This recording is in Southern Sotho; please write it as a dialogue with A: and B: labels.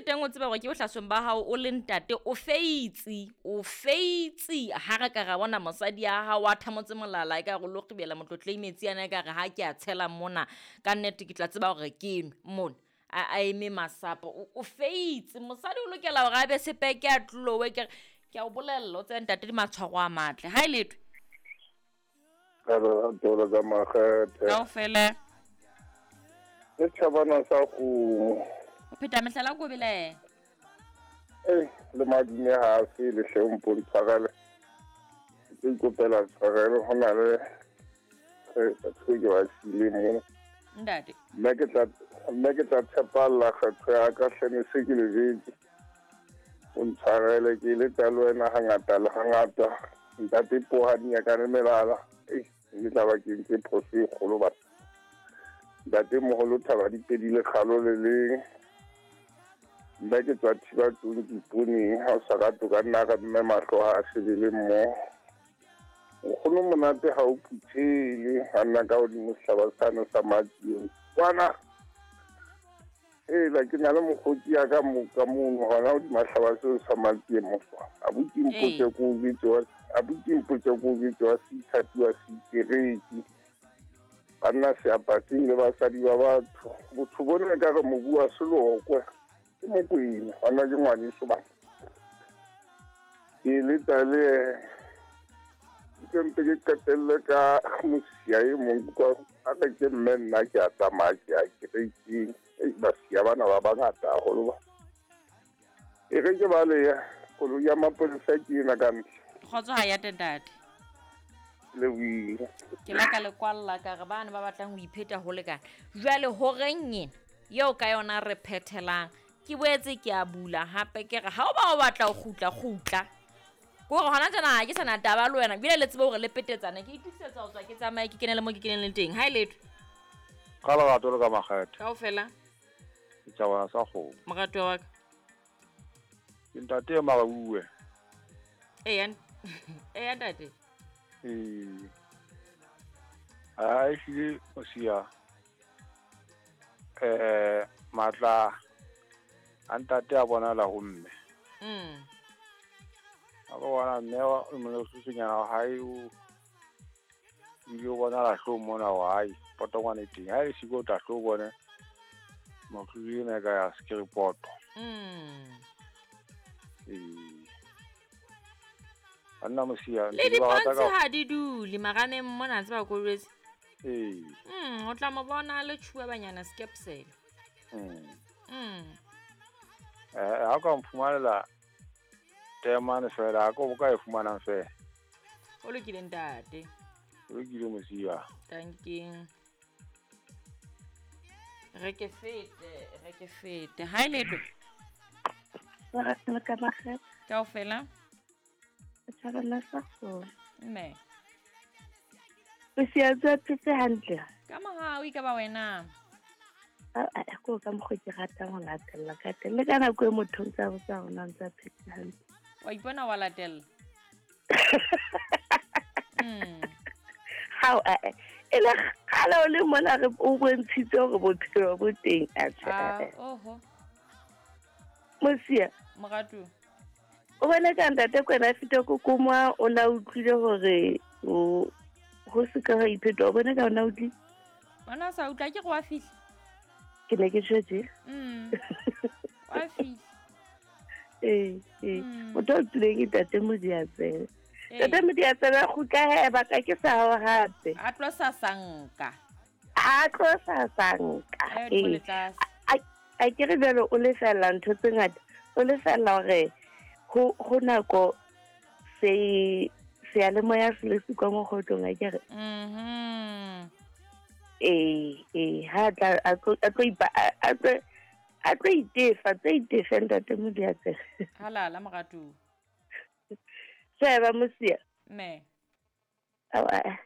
A: teng o tseba gore ke bohlasweng ba gago o le ntate o feitse o feitse ga re ka ra bona mosadi ya gago a thamotse molala e ka go lokgibela motlotlei metsi ana e ka re ga ke a tshela mona ka nnete ke tla tseba gore ke nwe mona a a eme masapo o o feitse mosadi o lokela gore a be sepeke a tlowe ke ke a o bolelela o tsebe ntate di matshwaro a matle ga e letwe
B: Ka lerato la ka makgethe.
A: Kaofela.
B: Ke tšhabana sa kgomo.
A: O pheta mehlala ko belaela.
B: Ei, le madume ga a fele hle o mpo ntshwarele. Ke tlo ikopela tshwarelo go na le batho ke ba siile mona.
A: Ntate.
B: Nna ke tla nna ke tla tshepalla kgetho ya ka hle ne se ke le jetse. O ntshwarele ke eletsa le wena hangata le hangata. Ntate Poha di nyakane melala. Ei, ke tla ba ke entse phoso e kgolo batho. Ntate moholo thaba di pedi lekgalo le leng. Nna ke tswa thiba tlong ke iponeng ha o sa rate o ka nna ra mme mahlo ha a shebele mmoho. Nkgono monate ha o phuthele ha nna ka hodimo sehlaba sane sa Matsieng. Kwana Hela ke na le mokgotsi ya ka mo ka mono hona hodima hlaba seo sa Matsieng mofo. Abuti mpotse ko o jwetse wa abuti mpotse ko o jwetse wa seithati wa seitereki. Banna seapatsing le basadi ba batho. Botho bona e ka re mobu wa selokwe. Ke Mokwena, hona ke ngwaneso bana. Ke eletsa le ke mpe ke qetelle ka mosia e mong kwa a re ke mme nna ke a tsamaya ke ya kerekeng. Ei, basia bana ba bangata haholo ba. E re ke baleya koloi ya mapolesa ke ena ka ntle.
A: Kgotso ha ya ntate.
B: Lebohile.
A: Ke la ka le kwalla ka re bane ba batlang ho ipheta ho lekana. Jwale horeng ena eo ka yona re phethelang ke boetse ke a bula hape ke re ha o ba o batla ho kgutla kgutla. Ke hore hona tjena ha ke sana taba le wena ebile le tsebe hore le petetsane ke itokisetsa ho tswa ke tsamaye ke kene le mo ke keneng le teng. Ha e letho.
C: Ka lerato le ka makgethe.
A: Kaofela.
C: Setjhabana sa kgomo.
A: Moratuwa wa ka.
C: Ke ntate e marauwe.
A: Eya, eya ntate.
C: Ee. Ha ehlile mosia eh matla a ntate a bonala ho mme. A ba bona mme wa molesosenyana wa hae o ile o bonala hlong mona wa hae potongwane e teng. Ha e siko o tla hlo bone moriri ena e ka ya sekiripoto. Ee. Banna mosia
A: Le
C: ntse ke ba rata
A: dipontshe
C: ka
A: ha di dule marameng mona tseba ko jwetse.
C: Ee.
A: O tla mo bona a le tjhuwa banyana skepsele.
C: Eh, ha o ka mphumanela temane fela, ha ko ka e fumanang fela.
A: O lokile ntate.
C: O lokile mosia.
A: Thank you. Re ke fete, re ke fete. Ha e letho.
D: Lerato le ka makgethe.
A: Kaofela.
D: Setjhabana sa kgomo.
A: Mme.
D: O sietse o phetse hantle.
A: Ka mohau e ka ba wena.
D: A ko ka mokgwa ke ratang ho latella ka teng. Le ka nako e motho o ntse a botsa hore na o ntse a phetse hantle.
A: Wa ipona wa latella.
D: Hao, a e le kgale o le mona re o bontshitse hore bophelo bo teng, atjhe,
A: Ah,
D: a.
A: oho.
D: Mosia.
A: Moratuwa.
D: O bone ka ntate Kwena feta kokomwa o na utlwile hore o ho se ka ha iphetwa. O bone ka ona utlwile?
A: Ona sa utlwa ke re wa fihla.
D: Ke ne ke tjho tje.
A: Wa fihla.
D: Ee, ee. Motho a utlwileng ke ntate Modiatsebe.
A: Ee.
D: Ntate Modiatsebe a kgutla he baka ke sa hao hape.
A: A tlo sasanka.
D: A tlo sasanka.
A: Ee,
D: Ee.
A: le tlase.
D: A ke re jwale o lefella ntho tse ngata. O lefella hore ho nako se seyalemoya se le sikwa mokgotlong a ke re. Ee, ee, ha tla a tlo a tlo ipa a tlo a tlo itefa, tlo itefa ntate Modiatsebe.
A: Halala moratuwa.
D: Sheba mosia.
A: Mme.
D: Ao, a.